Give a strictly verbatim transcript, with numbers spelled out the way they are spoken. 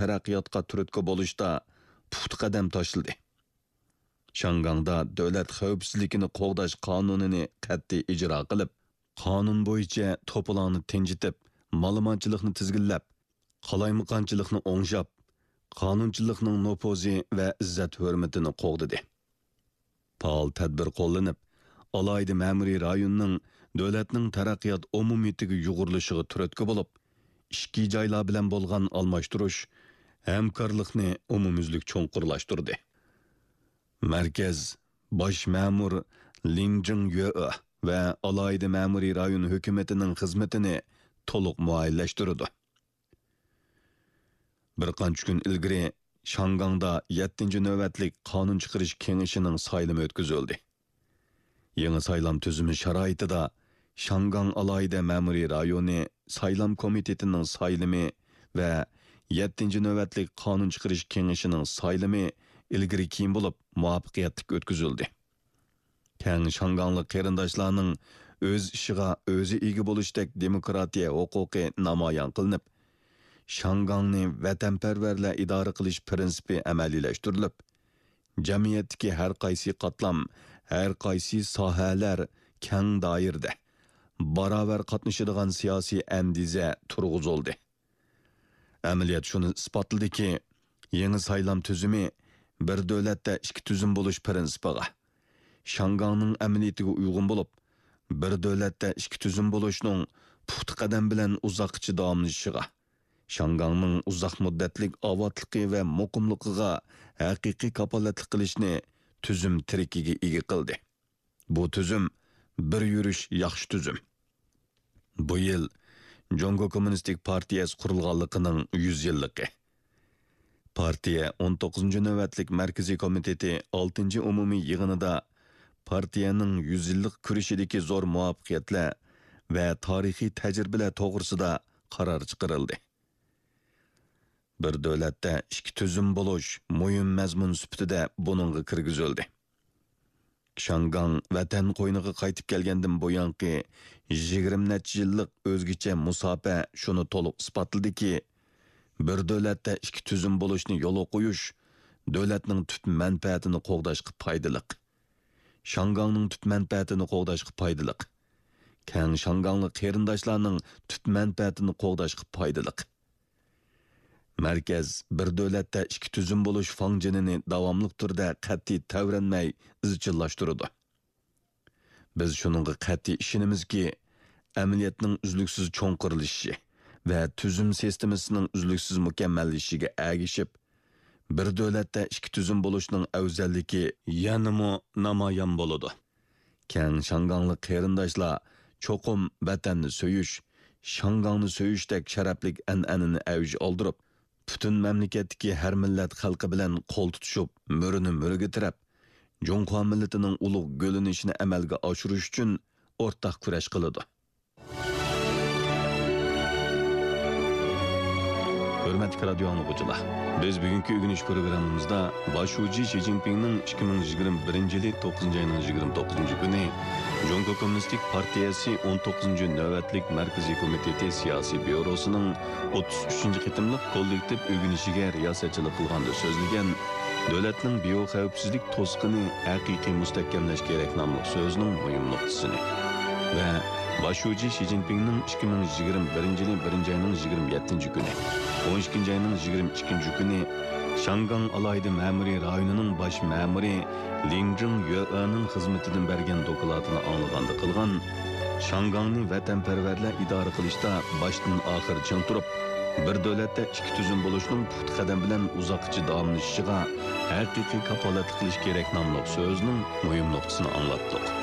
تەرەققىياتقا تۈرتكە بولۇشتا پۇختا قەدەم تاشلىدى. شياڭگاڭدا دۆلەت خەۋپسىزلىكىنى قوغداش قانۇنىنى قەتئىي ئىجرا قىلىپ، قانۇن بويىچە توپىلاڭنى تىنجىتىپ، مالىمانچىلىقنى تىزگىنلەپ، قالايمىقانچىلىقنى ئوڭشاپ، قانۇنچىلىقنىڭ نوپۇزى ۋە ئىززەت-ھۆرمىتىنى قوغدىدى. پائال تەدبىر قوللىنىپ، ئالاھىدە مەمۇرىي رايوننىڭ دۆلەتنىڭ تەرەققىيات ئومۇمىيىتىگە يۇغۇرۇلۇشىغا تۈرتكە بولۇپ، ئىچكى جايلار بىلەن بولغان ئالماشتۇرۇش، ھەمكارلىقنى ئومۇميۈزلۈك چوڭقۇرلاشتۇردى. مەركەز باش مەمۇر لىڭ جىڭيۆ ۋە ئالاھىدە مەمۇرىي رايون ھۆكۈمىتىنىڭ خىزمىتىنى تولۇق مۇئەييەنلەشتۈرىدۇ. بىر قانچە كۈن ئىلگىرى شياڭگاڭدا يەتتىنچى نۆۋەتلىك قانۇن چىقىرىش كېڭىشىنىڭ سايلىمى ئۆتكۈزۈلدى. يېڭى سايلام تۈزۈمى شارائىتىدا شياڭگاڭ ئالاھىدە مەمۇرىي رايونى سايلام كومىتېتىنىڭ سايلىمى ۋە يەتتىنچى نۆۋەتلىك قانۇن چىقىرىش كېڭىشىنىڭ سايلىمى ئىلگىرى كېيىن بولۇپ مۇۋەپپەقىيەتلىك ئۆتكۈزۈلدى. كەڭ شياڭگاڭلىق قېرىنداشلارنىڭ ئۆز ئىشىغا ئۆزى ئىگە بولۇشتەك دېموكراتىيە ھوقۇقى نامايان قىلىنىپ، شياڭگاڭنى ۋەتەنپەرۋەرلەر ئىدارە قىلىش پىرىنسىپى ئەمەلىيلەشتۈرۈلۈپ، جەمئىيەتتىكى ھەر قايسى قاتلام، ھەر قايسى ساھەلەر كەڭ دائىرىدە باراۋەر قاتنىشىدىغان سىياسىي ئەندىزە تۇرغۇزۇلدى. ئەمەلىيەت شۇنى ئىسپاتلىدىكى، يېڭى سايلام تۈزۈمى بىر دۆلەتتە ئىككى تۈزۈم بولۇش پىرىنسىپىغا، شياڭگاڭنىڭ ئەمەلىيىتىگە ئۇيغۇن بولۇپ، بىر دۆلەتتە ئىككى تۈزۈم بولۇشنىڭ پۇختا قەدەم بىلەن ئۇزاققىچە داۋاملىشىشىغا، شياڭگاڭنىڭ ئۇزاق مۇددەتلىك ئاۋاتلىقى ۋە مۇقىملىقىغا ھەقىقىي كاپالەتلىك قىلىشنى تۈزۈم تىرىكىگە ئىگە قىلدى. بۇ تۈزۈم بىر يۈرۈش ياخشى تۈزۈم. بۇ يىل جۇڭگو كوممۇنىستىك پارتىيەسى قۇرۇلغانلىقىنىڭ يۈز يىللىقى. پارتىيە ئون توققۇزىنچى نۆۋەتلىك مەركىزىي كومىتېتى ئالتىنچى ئومۇمىي يىغىنىدا پارتىيەنىڭ يۈز يىللىق كۈرىشىدىكى زور مۇۋەپپەقىيەتلەر ۋە تارىخىي تەجرىبىلەر توغرىسىدا قارار چىقىرىلدى. بىر دۆلەتتە ئىككى تۈزۈم بولۇش مۇھىم مەزمۇن سۈپىتىدە بۇنىڭغا كىرگۈزۈلدى. شياڭگاڭ ۋەتەن قوينىغا قايتىپ كەلگەندىن بۇيانقى يىگىرمە نەچچە يىللىق ئۆزگىچە مۇساپە شۇنى تولۇق ئىسپاتلىدىكى، بىر دۆلەتتە ئىككى تۈزۈم بولۇشنى يولغا قويۇش دۆلەتنىڭ تۈپ مەنپەئەتىنى قوغداشقا پايدىلىق. شياڭگاڭنىڭ تۈپ مەنپەئەتىنى قوغداشقا پايدىلىق. كەڭ شياڭگاڭلىق قېرىنداشلارنىڭ تۈپ مەنپەئەتىنى قوغداشقا پايدىلىق. مەركەز بىر دۆلەتتە ئىككى تۈزۈم بولۇش فاڭجېنىنى داۋاملىق تۈردە قەتئىي تەۋرەنمەي ئىزچىللاشتۇرىدۇ. بىز شۇنىڭغا قەتئىي ئىشىنىمىزكى، ئەمەلىيەتنىڭ ئۈزلۈكسىز چوڭقۇرلىشىشى ۋە تۈزۈم سىستېمىسىنىڭ ئۈزلۈكسىز مۇكەممەللىشىشىگە ئەگىشىپ، بىر دۆلەتتە ئىككى تۈزۈم بولۇشنىڭ ئەۋزەللىكى يەنىمۇ نامايان بولىدۇ. كەڭ شياڭگاڭلىق قېرىنداشلار چوقۇم ۋەتەننى سۆيۈش، شياڭگاڭنى سۆيۈشتەك شەرەپلىك ئەنئەنىنى ئەۋج ئالدۇرۇپ، پۈتۈن مەملىكەتتىكى ھەر مىللەت خەلقى بىلەن قول تۇتۇشۇپ، مۈرىنى مۈرىگە تىرەپ، جۇڭخۇا مىللىتىنىڭ ئۇلۇغ گۈللىنىشىنى ئەمەلگە ئاشۇرۇش ئۈچۈن ئورتاق كۈرەش قىلىدۇ. ھۆرمەتلىك رادىيو ئاڭلىغۇچىلار، بىز بۈگۈنكى ئۆگىنىش پروگراممىمىزدا باش شۇجى شى جىنپىڭنىڭ ئىككى مىڭ يىگىرمە بىرىنچى يىلى توققۇزىنچى ئاينىڭ يىگىرمە توققۇزىنچى كۈنى جۇڭگو كوممۇنىستىك پارتىيەسى ئون توققۇزىنچى نۆۋەتلىك مەركىزىي كومىتېتى سىياسىي بيۇروسىنىڭ ئوتتۇز ئۈچىنچى قېتىملىق كوللېكتىپ ئۆگىنىشىگە رىياسەتچىلىك قىلغاندا سۆزلىگەن، دۆلەتنىڭ بىيوخەۋپسىزلىك توسۇقىنى ھەقىقىي مۇستەھكەملەش كېرەك ناملىق سۆزىنىڭ مۇھىم نۇقتىسىنى ۋە باش شۇجى شى جىنپىڭنىڭ ئىككى مىڭ يىگىرمە بىرىنچى يىلى بىرىنچى ئاينىڭ يىگىرمە يەتتىنچى كۈنى، ئون ئىككىنچى ئاينىڭ يىگىرمە ئىككىنچى كۈنى شياڭگاڭ ئالاھىدە مەمۇرىي رايونىنىڭ باش مەمۇرى لىڭ جىڭ يۆئېنىڭ خىزمىتىدىن بەرگەن دوكلاتىنى ئاڭلىغاندا قىلغان، شياڭگاڭنى ۋەتەنپەرۋەرلەر ئىدارە قىلىشتا باشتىن ئاخىر چىڭ تۇرۇپ، بىر دۆلەتتە ئىككى تۈزۈم بولۇشنىڭ پۇختا قەدەم بىلەن ئۇزاققىچە داۋاملىشىشىغا ھەقىقىي كاپالەتلىك قىلىش كېرەك ناملىق سۆزىنىڭ مۇھىم نۇقتىسىنى ئاڭلاتتۇق.